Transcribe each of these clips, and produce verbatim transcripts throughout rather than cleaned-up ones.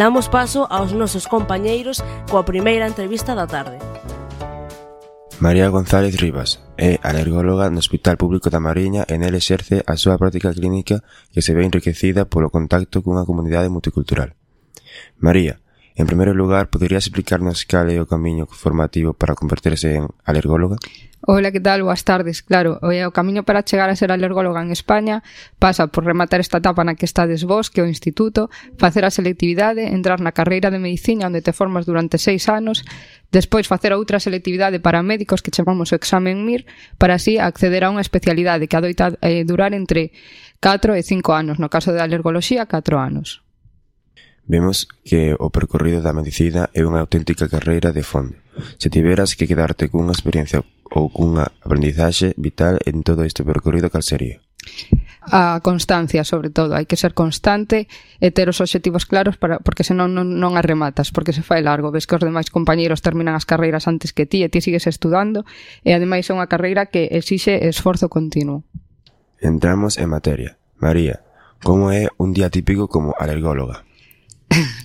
Damos paso aos nosos compañeiros coa primeira entrevista da tarde. María González Rivas é alergóloga no Hospital Público da Mariña e nel exerce a súa práctica clínica que se ve enriquecida polo contacto cunha comunidade multicultural. María, en primeiro lugar, poderías explicarnos cal é o camiño formativo para converterse en alergóloga? Hola, que tal? Boas tardes. Claro, o camiño para chegar a ser alergóloga en España pasa por rematar esta etapa na que estades vos, que é o instituto, facer a selectividade, entrar na carreira de medicina onde te formas durante seis anos, despois facer outra selectividade para médicos que chamamos o examen M I R, para así acceder a unha especialidade que adoita eh, durar entre catro e cinco anos, no caso de alergoloxía, catro anos. Vemos que o percorrido da medicina é unha auténtica carreira de fondo. Se tiveras que quedarte cunha experiencia ou cunha aprendizaxe vital en todo este percorrido, cal sería? A constancia, sobre todo. Hai que ser constante e ter os obxectivos claros para, porque senón non, non as rematas, porque se fai largo. Ves que os demais compañeiros terminan as carreiras antes que ti e ti sigues estudando e ademais é unha carreira que exixe esforzo continuo. Entramos en materia. María, como é un día típico como alergóloga?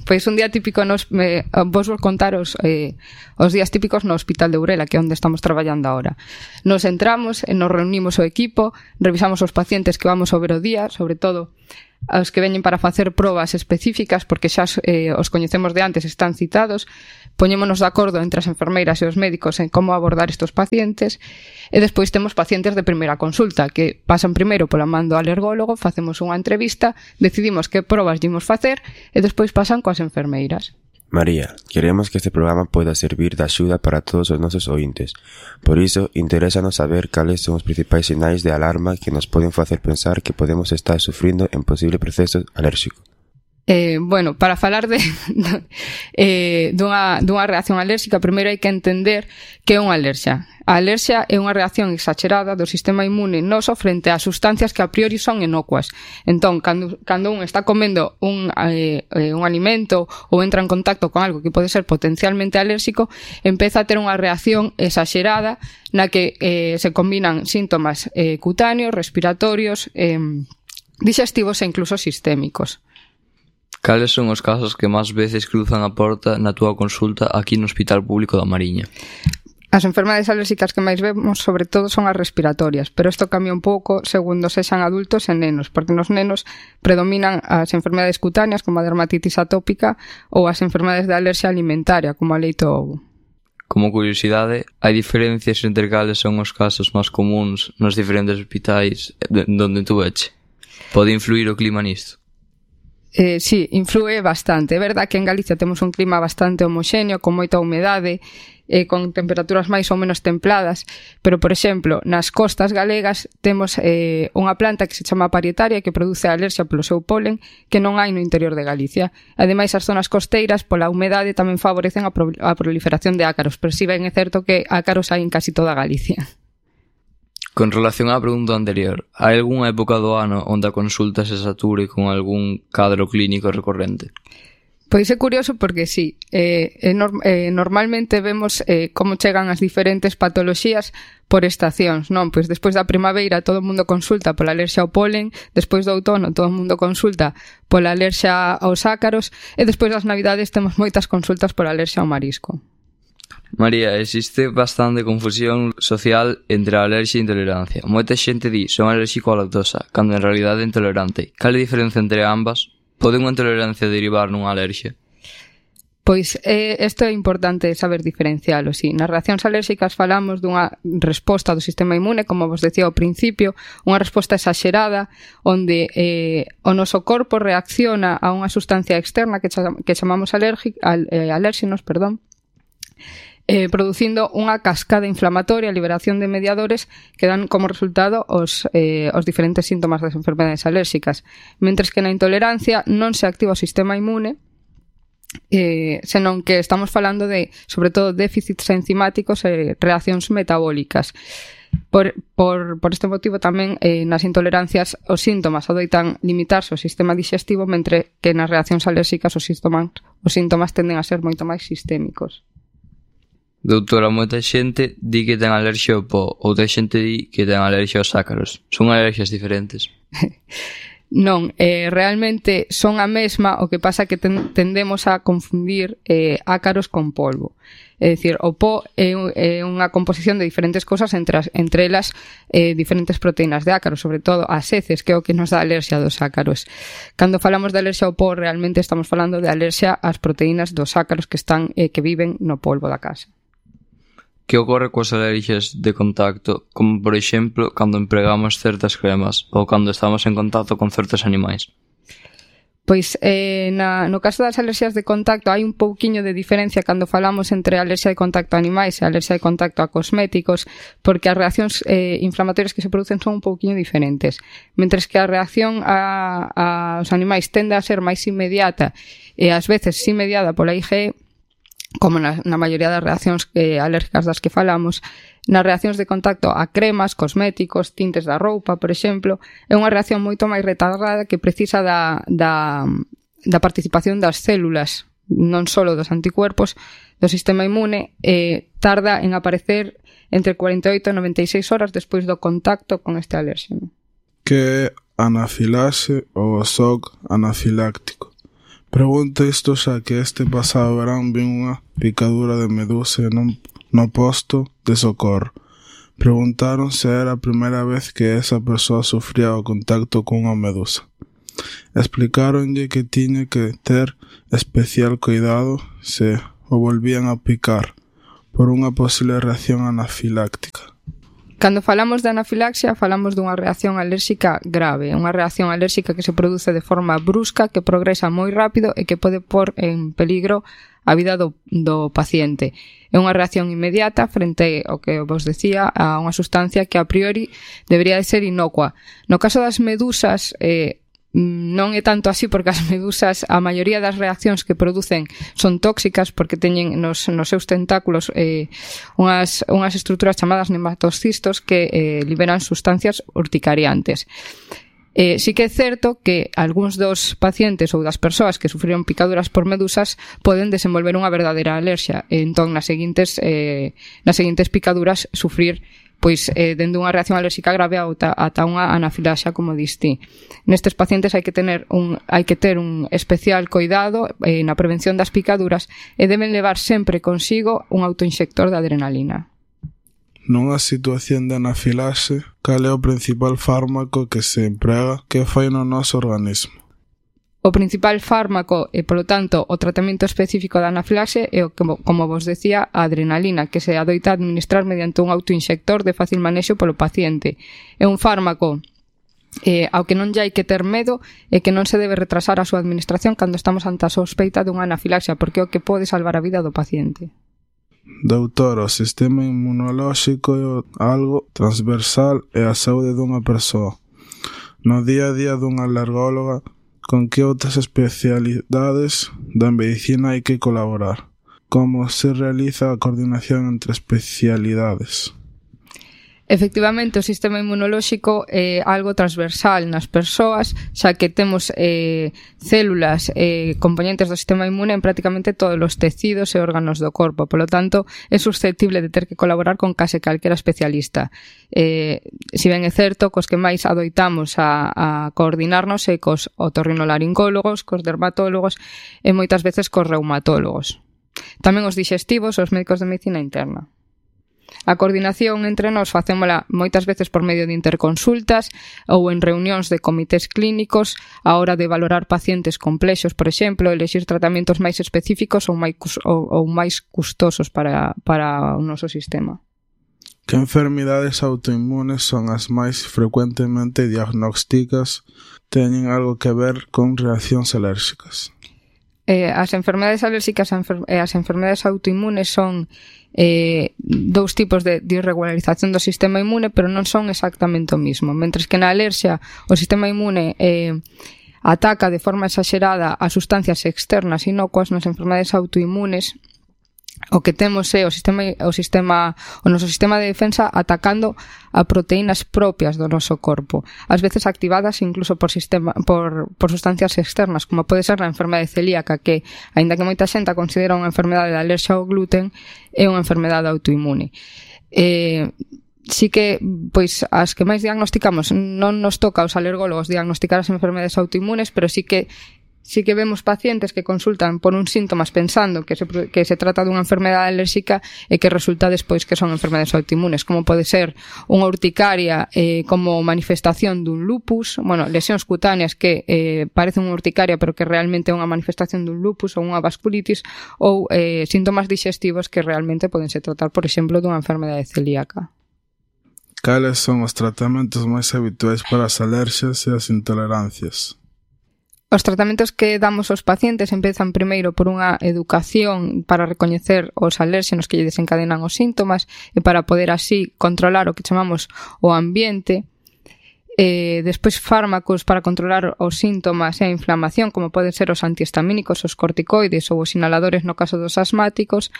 Pois un día típico nos, me, vos vou contar os, eh, os días típicos no Hospital de Burela, que é onde estamos traballando agora. Nos entramos, e nos reunimos o equipo, revisamos os pacientes que vamos a ver o día, sobre todo os que veñen para facer probas específicas, porque xa eh, os coñecemos de antes, están citados, poñémonos de acordo entre as enfermeiras e os médicos en como abordar estes pacientes, e despois temos pacientes de primeira consulta, que pasan primeiro pola man do alergólogo, facemos unha entrevista, decidimos que probas dimos facer, e despois pasan coas enfermeiras. María, queremos que este programa poida servir de axuda para todos os nosos ointes. Por iso, interésanos saber cales son os principais sinais de alarma que nos poden facer pensar que podemos estar sufrindo en posible proceso alérxico. Eh, bueno, para falar de eh, dunha, dunha reacción alérxica, primeiro hai que entender que é unha alerxia. A alerxia é unha reacción exagerada do sistema inmune noso frente a sustancias que a priori son inocuas. Entón, cando, cando un está comendo un, eh, un alimento ou entra en contacto con algo que pode ser potencialmente alérxico, empeza a ter unha reacción exagerada na que eh, se combinan síntomas eh, cutáneos, respiratorios, eh, digestivos e incluso sistémicos. Cales son os casos que máis veces cruzan a porta na túa consulta aquí no Hospital Público da Mariña? As enfermedades alérxicas que máis vemos, sobre todo, son as respiratorias, pero isto cambia un pouco segundo sexan adultos e nenos, porque nos nenos predominan as enfermedades cutáneas, como a dermatitis atópica, ou as enfermedades de alerxia alimentaria, como a leite ou ovo. Como curiosidade, hai diferencias entre cales son os casos máis comuns nos diferentes hospitais donde tú veche? Pode influir o clima nisto? Eh, sí, influe bastante. É verdad que en Galicia temos un clima bastante homoxéneo, con moita humedade, eh, con temperaturas máis ou menos templadas, pero, por exemplo, nas costas galegas temos eh, unha planta que se chama parietaria que produce alerxia polo seu polen que non hai no interior de Galicia. Ademais, as zonas costeiras, pola humedade, tamén favorecen a, pro- a proliferación de ácaros, pero si ben é certo que ácaros hai en casi toda Galicia. Con relación á pregunta anterior, hai algunha época do ano onde a consulta se sature con algún cadro clínico recorrente? Pois é curioso porque sí, eh, eh, norm, eh, normalmente vemos eh, como chegan as diferentes patoloxías por estacións, non? Pois despois da primavera todo o mundo consulta pola alerxia ao polen, despois do outono todo o mundo consulta pola alerxia aos ácaros e despois das navidades temos moitas consultas pola alerxia ao marisco. María, existe bastante confusión social entre a alerxia e a intolerancia. Moita xente di son alérxico á lactosa, cando en realidade é intolerante. Cal é a diferencia entre ambas? Pode unha intolerancia derivar nunha alerxia? Pois eh, isto é importante saber diferencialo, sí. Nas reaccións alérxicas falamos dunha resposta do sistema inmune, como vos decía ao principio, unha resposta exagerada, onde eh, o noso corpo reacciona a unha sustancia externa que, cham que chamamos alérgic, al, eh, alérxenos, perdón, Eh, producindo unha cascada inflamatoria, liberación de mediadores que dan como resultado os, eh, os diferentes síntomas das enfermedades alérxicas. Mentres que na intolerancia non se activa o sistema inmune, eh, senón que estamos falando de, sobre todo, déficits enzimáticos e reaccións metabólicas. Por, por, por este motivo tamén eh, nas intolerancias os síntomas adoitan limitarse ao sistema digestivo, mentre que nas reaccións alérxicas os síntomas, os síntomas tenden a ser moito máis sistémicos. Doutora, moita xente di que ten alerxia ao po, outra xente di que ten alerxia aos ácaros. Son alerxias diferentes? Non, eh, realmente son a mesma, o que pasa que ten, tendemos a confundir eh, ácaros con polvo. É dicir, o po é, é unha composición de diferentes cosas, entre, as, entre elas eh, diferentes proteínas de ácaro, sobre todo as heces, que é o que nos dá alerxia dos ácaros. Cando falamos de alerxia ao po, realmente estamos falando de alerxia ás proteínas dos ácaros que están eh, que viven no polvo da casa. Que ocorre coas alerxias de contacto, como por exemplo cando empregamos certas cremas ou cando estamos en contacto con certos animais? Pois eh, na, no caso das alerxias de contacto hai un pouquiño de diferencia cando falamos entre alerxia de contacto a animais e alerxia de contacto a cosméticos, porque as reaccións eh, inflamatorias que se producen son un pouquiño diferentes. Mentres que a reacción a, aos animais tende a ser máis inmediata e ás veces sí mediada pola I G E, como na, na maioría das reaccións eh, alérgicas das que falamos, nas reaccións de contacto a cremas, cosméticos, tintes da roupa, por exemplo, é unha reacción moito máis retardada que precisa da, da, da participación das células, non só dos anticuerpos, do sistema inmune, e tarda en aparecer entre cuarenta e oito e noventa e seis horas despois do contacto con este alérxeno. Que é anafilaxe ou shock anafiláctico? Pregunto isto xa que este pasado verán vi unha picadura de medusa non, no posto de socorro. Preguntaron se era a primeira vez que esa persoa sufría o contacto con unha medusa. Explicáronlle que tiña que ter especial cuidado se o volvían a picar por unha posible reacción anafiláctica. Cando falamos de anafilaxia, falamos dunha reacción alérxica grave, unha reacción alérxica que se produce de forma brusca, que progresa moi rápido e que pode pôr en peligro a vida do, do paciente. É unha reacción inmediata frente ao que vos decía, a unha sustancia que a priori debería de ser inocua. No caso das medusas, eh, non é tanto así, porque as medusas, a maioría das reaccións que producen son tóxicas porque teñen nos, nos seus tentáculos eh, unhas, unhas estruturas chamadas nematocistos que eh, liberan sustancias urticariantes. Eh, sí que é certo que algúns dos pacientes ou das persoas que sufriron picaduras por medusas poden desenvolver unha verdadeira alerxia e entón nas seguintes, eh, nas seguintes picaduras sufrir pois eh, dende unha reacción alérxica grave ata, ata unha anafilaxia, como diste. Nestes pacientes hai que tener un hai que ter un especial cuidado eh, na prevención das picaduras e deben levar sempre consigo un autoinxector de adrenalina. Nunha situación de anafilaxe, cal é o principal fármaco que se emprega que fai no noso organismo? O principal fármaco e, polo tanto, o tratamento específico da anafilaxe é, o que, como vos decía, a adrenalina, que se adoita administrar mediante un autoinxector de fácil manexo polo paciente. É un fármaco eh, ao que non lle hai que ter medo e que non se debe retrasar a súa administración cando estamos ante a sospeita dunha anafilaxia, porque é o que pode salvar a vida do paciente. Doutor, o sistema inmunolóxico é algo transversal e a saúde dunha persoa. No día a día dunha alergóloga, con que outras especialidades da medicina hai que colaborar? Como se realiza a coordinación entre especialidades? Efectivamente, o sistema inmunolóxico é algo transversal nas persoas, xa que temos eh, células eh, componentes do sistema inmune en prácticamente todos os tecidos e órganos do corpo. Por lo tanto, é susceptible de ter que colaborar con case calquera especialista. Eh, si ben é certo, cos que máis adoitamos a, a coordinarnos é cos otorrinolaringólogos, cos dermatólogos e moitas veces cos reumatólogos. Tamén os digestivos, os médicos de medicina interna. A coordinación entre nós facémola moitas veces por medio de interconsultas ou en reunións de comités clínicos a hora de valorar pacientes complexos, por exemplo, elexir tratamentos máis específicos ou máis, ou, ou máis custosos para, para o noso sistema. Que enfermidades autoinmunes son as máis frecuentemente diagnósticas? Teñen algo que ver con reaccións alérxicas? Eh, as enfermedades alérxicas e as enfermedades autoinmunes son eh, dous tipos de, de irregularización do sistema inmune, pero non son exactamente o mismo. Mentres que na alerxia o sistema inmune eh, ataca de forma exagerada a sustancias externas inocuas, nas enfermedades autoinmunes o que temos é o sistema o sistema o noso sistema de defensa atacando a proteínas propias do noso corpo, ás veces activadas incluso por sistema por por sustancias externas, como pode ser a enfermedade celíaca, que aínda que moita xente a considera unha enfermedade de alerxia ao gluten, é unha enfermedade autoinmune. Eh, sí que, pois, as que máis diagnosticamos non nos toca aos alergólogos diagnosticar as enfermedades autoinmunes, pero sí que sí que vemos pacientes que consultan por uns síntomas pensando que se, que se trata dunha enfermedade alérxica e que resulta despois que son enfermedades autoinmunes, como pode ser unha urticaria eh, como manifestación dun lupus, bueno, lesións cutáneas que eh, parecen unha urticaria pero que realmente é unha manifestación dun lupus ou unha vasculitis, ou eh, síntomas digestivos que realmente podense tratar, por exemplo, dunha enfermedade celíaca. Cales son os tratamentos máis habituais para as alerxias e as intolerancias? Os tratamentos que damos aos pacientes empezan primeiro por unha educación para recoñecer os alérxenos que lle desencadenan os síntomas e para poder así controlar o que chamamos o ambiente. Eh, despois fármacos para controlar os síntomas e a inflamación, como poden ser os antihistamínicos, os corticoides ou os inhaladores no caso dos asmáticos,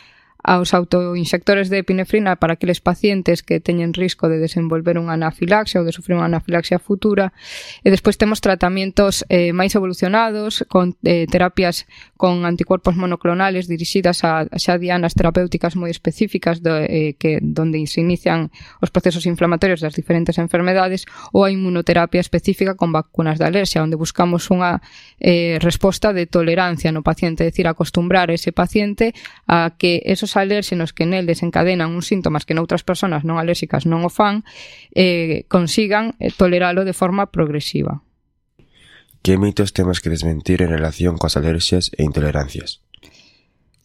aos autoinxectores de epinefrina para aqueles pacientes que teñen risco de desenvolver unha anafilaxia ou de sufrir unha anafilaxia futura. E despois temos tratamentos eh, máis evolucionados con eh, terapias con anticuerpos monoclonales dirixidas a xa dianas terapéuticas moi específicas do, eh, que donde se inician os procesos inflamatorios das diferentes enfermedades, ou a inmunoterapia específica con vacunas de alerxia, onde buscamos unha eh, resposta de tolerancia no paciente, é dicir, acostumbrar ese paciente a que esos alérxenos que nel desencadenan uns síntomas que noutras persoas non alérxicas non o fan, eh, consigan eh, toleralo de forma progresiva. Que mitos temos que desmentir en relación coas alerxias e intolerancias?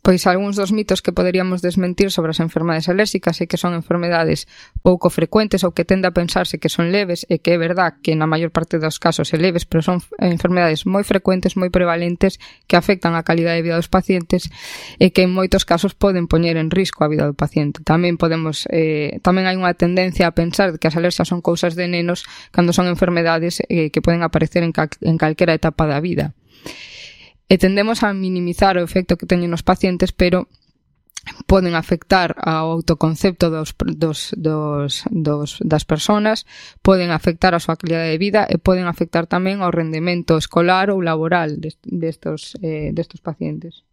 Pois algúns dos mitos que poderíamos desmentir sobre as enfermedades alérxicas é que son enfermedades pouco frecuentes ou que tende a pensarse que son leves, e que é verdad que na maior parte dos casos é leves, pero son enfermedades moi frecuentes, moi prevalentes, que afectan a calidade de vida dos pacientes e que en moitos casos poden poñer en risco a vida do paciente. Tamén podemos eh, tamén hai unha tendencia a pensar que as alerxias son cousas de nenos cando son enfermedades eh, que poden aparecer en, cal, en calquera etapa da vida. E tendemos a minimizar o efecto que teñen os pacientes, pero poden afectar ao autoconcepto dos, dos, dos, dos, das persoas, poden afectar a súa calidade de vida e poden afectar tamén ao rendemento escolar ou laboral destos, eh, destos pacientes.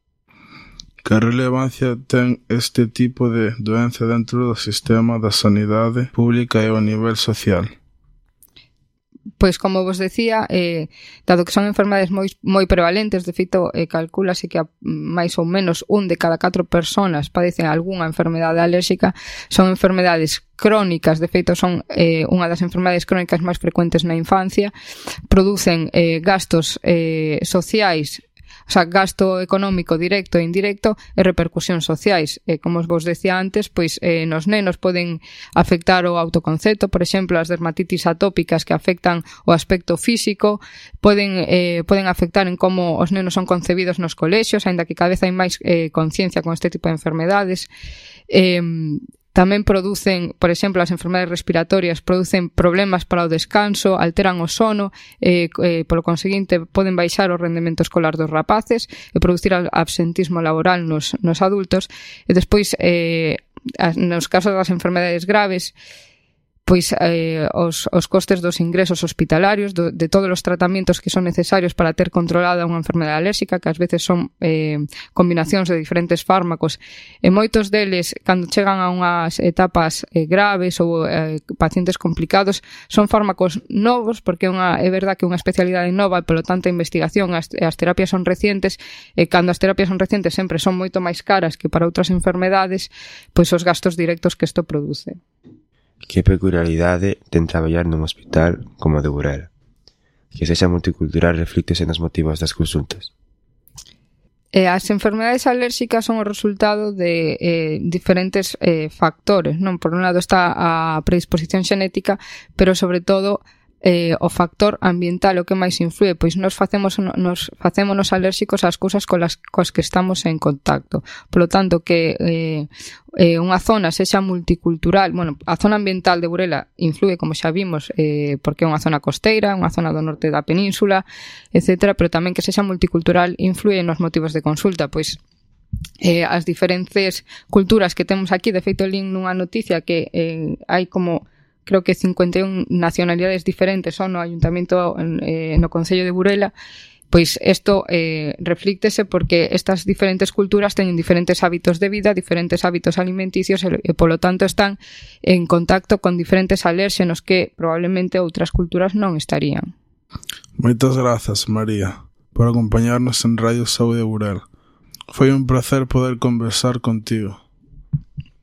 Que relevancia ten este tipo de doenza dentro do sistema da sanidade pública e ao nivel social? Pois, como vos decía, eh, dado que son enfermedades moi, moi prevalentes, de feito, eh, calcúlase que a máis ou menos un de cada catro persoas padecen algunha enfermedade alérxica, son enfermedades crónicas, de feito son eh, unha das enfermedades crónicas máis frecuentes na infancia, producen eh, gastos eh, sociais, o sea, gasto económico directo e indirecto e repercusións sociais. E, como vos decía antes, pois eh, nos nenos poden afectar o autoconcepto, por exemplo, as dermatitis atópicas que afectan o aspecto físico, poden, eh, poden afectar en como os nenos son concebidos nos colexios, aínda que cada vez hai máis eh, conciencia con este tipo de enfermedades. Eh, Tamén producen, por exemplo, as enfermedades respiratorias producen problemas para o descanso, alteran o sono, e, eh, polo conseguinte poden baixar o rendemento escolar dos rapaces e producir absentismo laboral nos, nos adultos. E despois, eh, nos casos das enfermedades graves, pois eh, os, os costes dos ingresos hospitalarios, do, de todos os tratamentos que son necesarios para ter controlada unha enfermedade alérxica, que ás veces son eh, combinacións de diferentes fármacos, e moitos deles, cando chegan a unhas etapas eh, graves ou eh, pacientes complicados, son fármacos novos, porque unha, é verdad que é unha especialidade nova e, polo tanto, a investigación, as, as terapias son recientes, e cando as terapias son recientes sempre son moito máis caras que para outras enfermedades, pois os gastos directos que isto produce. Que peculiaridade ten traballar nun hospital como o de Burela? Que sexa multicultural reflíctese nos motivos das consultas? Eh, as enfermedades alérxicas son o resultado de eh, diferentes eh, factores, non? Por un lado está a predisposición xenética, pero sobre todo eh, o factor ambiental o que máis influe, pois nos facemos nos facémonos alérxicos ás cousas colas coas que estamos en contacto. Por lo tanto, que eh, eh, unha zona sexa multicultural, bueno, a zona ambiental de Burela influe, como xa vimos, eh, porque é unha zona costeira, unha zona do norte da península, etcétera, pero tamén que sexa multicultural influe nos motivos de consulta, pois eh, as diferentes culturas que temos aquí. De feito, lín nunha noticia que eh, hai como creo que cincuenta e un nacionalidades diferentes son no Ayuntamento, eh, no Concello de Burela, Pois isto eh, reflíctese porque estas diferentes culturas teñen diferentes hábitos de vida, diferentes hábitos alimenticios e, e polo tanto están en contacto con diferentes alérxenos que probablemente outras culturas non estarían. Moitas grazas, María, por acompañarnos en Radio Saúde Burela. Foi un placer poder conversar contigo.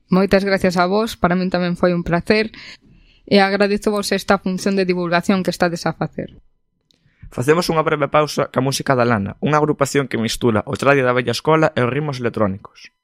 Moitas gracias a vos, para min tamén foi un placer e agradezo vos esta función de divulgación que estades a facer. Facemos unha breve pausa ca música da Lana, unha agrupación que mistura o tradio da vella escola e os ritmos electrónicos.